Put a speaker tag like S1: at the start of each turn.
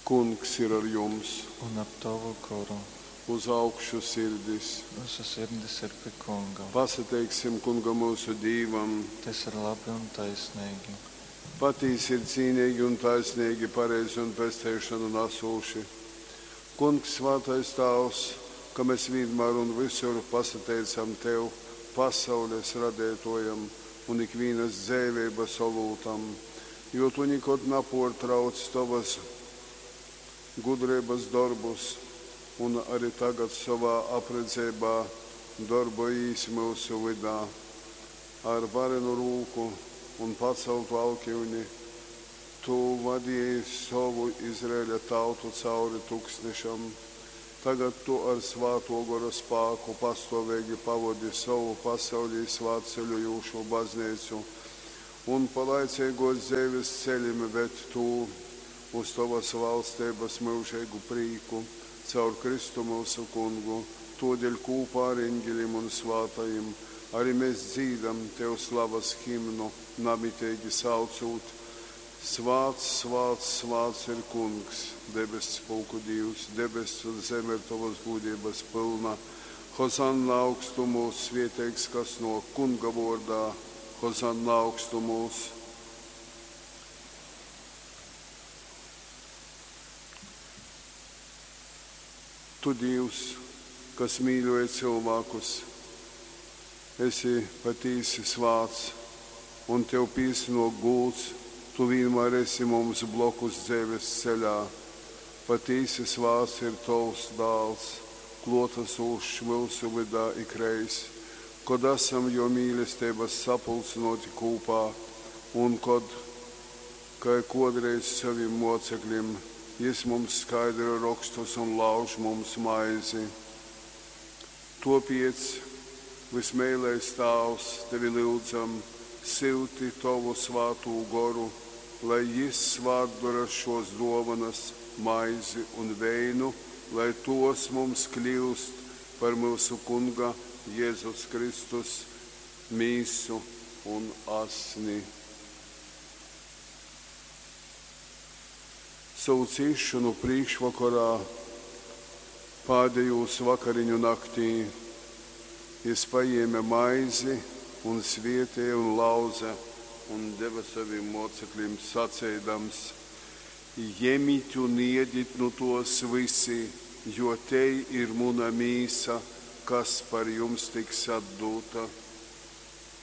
S1: Kungs ir ar jums!
S2: Un ar tovu goru.
S1: Uz augšu sirdis!
S2: Myusu sirdis ir pi Kunga.
S1: Pasateiksim Kungam myusu Dīvam!
S2: Tys ir labi un taisneigi.
S1: Patīsi ir cīneigi un taisneigi, pareizi un pesteišonu nasūši, Kungs, svātais Tāvs, ka mes vīnmār un vysur pasateicam tev, pasaules Radeitōjam un ikvīnas dzeiveibas olūtam, jo tu nikod napōrtrauc tovas gudreibas dorbus un ari tagad sovā apredzeibā dorbojīs myusu vydā. Ar varenu rūku un pacaltu alkyuni tu vadeji sovu Izraeļa tautu cauri tuksnešam. Tagad tu ar Svātō Gora spāku pastōveigi pavodi sovu pasaulī svātceļojūšū Bazneicu un pa laiceigōs dzeives celim ved tū uz tovas valsteibas myužeigu prīku, caur Kristu myusu Kungu. Tōdeļ kūpā ar engelim un svātajim ari mes dzīdam tev slavas himnu, namiteigi saucūt, Svāts, svāts, svāts ir Kungs, debesspulku Dīvs, debess un zeme ir tovas gūdeibas pylna. Hozanna augstumūs, svieteigs, kas nōk Kunga vōrdā, Hozanna augstumūs. Tu, Dīvs, kas mīļoji cylvākus, esi patīsi svāts, un tev pīsanōk gūds, tu vīnmār esi mums blokus dzeives ceļā. Patīsi svāts ir tovs Dāls, klōtasūšs myusu vydā ikreiz, kod asam jō mīlesteibas sapulcynōti kūpā un kod, kai kōdreiz sovim mōceklim, jys mums skaidroj Rokstus un lauž mums maizi. Tōpēc, vysmeilais Tāvs, tevi lyudzam, syuti tovu Svātū Goru, lai jys svātdora šōs dōvonas, maizi un veinu, lai tōs mums kļyust par myusu Kunga Jezus Kristus mīsu un asni. Sovu cīsšonu prīškvokorā, pādejūs vakariņu naktī, jys pajēme maizi un svētēja un lauze un deve sovim mōceklim, saceidams, Jemit un iedit nu tōs vysi, jo tei ir muna mīsa, kas par jums tiks atdūta.